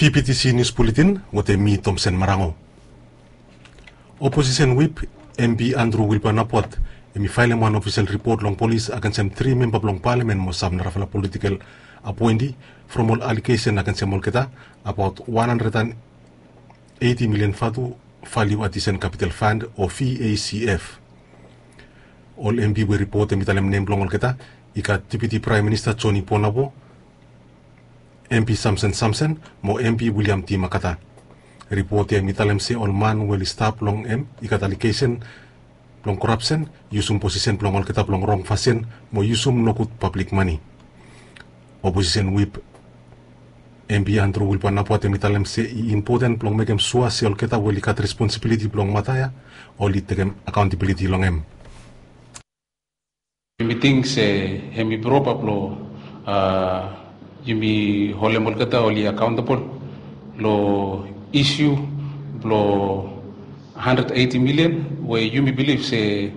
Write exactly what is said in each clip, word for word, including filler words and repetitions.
T P T C News Bulletin wetem mi Tomsen Marango. Oposisen Whip, M P Andrew Wilbur Napuat, hemi faelem wan ofisel ripot long polis agensem tri memba blong palamen mo sam narafala politikel apoenti from ol alegesen agensem olgeta abaot wan handred and eiti milian vatu valiu adisen kapital fand o V A C F. Ol M P we ripot hemi talem nem blong olgeta i gat Deputi Praem Minista Joni Ponabo, M P Samson Samson mo M P William T Makata. Ripot ya hemi talem se ol man we oli stap long hem i gat alegesen blong korapsen, yusum posisen blong olgeta blong rong fasin mo yusum nogud pablik mane. Oposisen Whip, M P Andrew Wilbur Napuat, hemi talem se i impoten blong mekem sua se olgeta we oli gat responsibiliti blong mata ya oli tekem akaontabiliti long hem. Yumi ting se hemi propa blong, a, yumi holem olgeta oli akaontabol long isiu blong handred eiti milian we yumi bilif se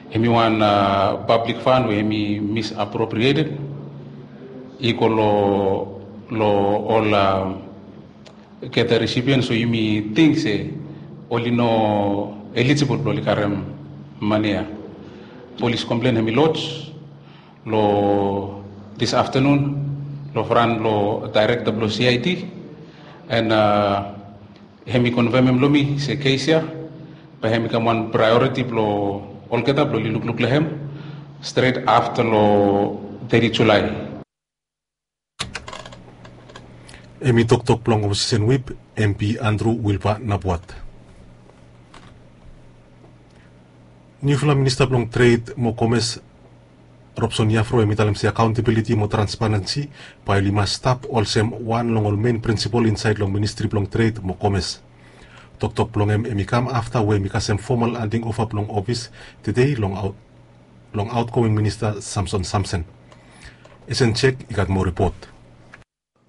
hemi wan, a, pablik fand we hemi misappropriated i go long, long ol, a, olgeta resipian. So yumi ting se oli no elijibol blong oli karem mane ya. Polis komplen hemi loj long this afternoon long fran long daerekta blong C I D, and, a, hemi konfemem long mi se kes ya bae hemi kam wan praeoriti blong olgeta blong oli lukluk long hem stret afta long teti Julae. Hemi toktok blong Oposisen Whip, M P Andrew Wilbur Napuat. Niufala Minista blong Tred mo Komes, Robson Yavro, hemi talem se akaontabiliti mo transparensi bae oli mas stap olsem wan long ol men prinsipol insaed long Ministri blong Tred mo Komes. Toktok blong hem hemi kam afta we hemi kasem fomal handing ova blong ofis tede long aot, long aotgoing Minista Samson Samson. Esen Jek i gat moa ripot.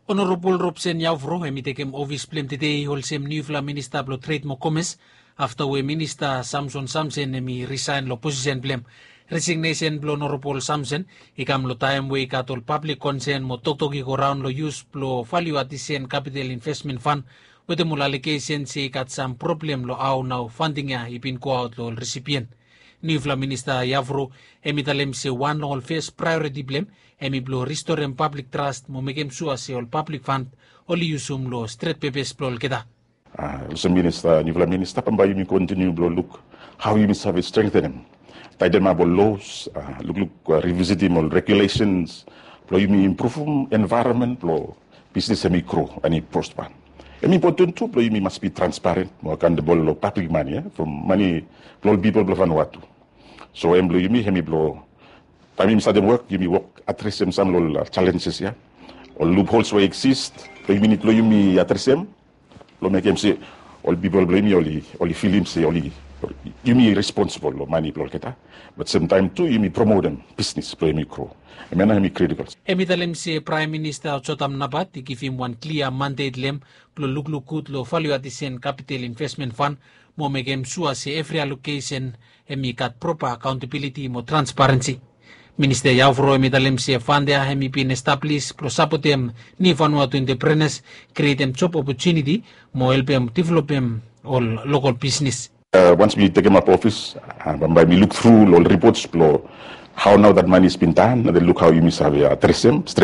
Onorabol Robson Yavro hemi tekem ofis blong hem tede olsem niufala Minista blong Tred mo Komes afta we Minista Samson Samson hemi risaen long posisen blong hem. Resignesen blong Onorabol Samson i kam long taem we i gat ol pablik konsen mo toktok i go raon long yus blong valiu adisen kapital invesmen fand wetem ol alegesen se i gat sam problem long hao nao fanding ya i bin goaot long ol resipian. Niufala Minista Yavro hemi talem se wan long ol fes praeoriti blong hem hemi blong ristorem pablik tras mo mekem sua se ol pablik fand oli yusum long stret pepes blong olgeta. A, olsem minista, niufala minista, bambae yumi kontiniu blong luk hao yumi save strengtenem, taetemap ol los, a, lukluk, a, rivisitim ol regulesens blong yumi impruvum envaeronmen blong bisnis hemi gro and i prospa. Hemi impoten tu blong yumi mas bi transparen mo akaontabol long pablik mane, a, from mane blong ol pipol blong Vanuatu. So hem blong yumi hemi blong taem yumi statem wok, yumi wok adresem sam long ol, a, jalenjes ya, ol luphols we i eksis, blong yumi nid blong yumi adresem blong mekem se ol pipol blong yumi oli, oli filim se oli, yumi responsibol long mane blong olgeta, bat semtaem tu yumi promotem bisnis blong yumi gro. Hemia nao hemi kritikol. Hemi talem se Praem Minista Jotam Napat i givim wan klia mandet long hem blong lukluk gud long valiu adisen kapital invesmen fand mo mekem sua se evri alokesen hemi gat propa akaontabiliti mo transparensi. Minista Yavro hemi talem se fand ya hemi bin establis blong sapotem niu Vanuatu enteprenas, krietem job opotuniti mo helpem developem ol lokol bisnis. A, wans mi tekemap ofis, a, bambae mi luk tru long ol ripots blong hao nao dat mane i bin tan, na de luk hao yumi save adresem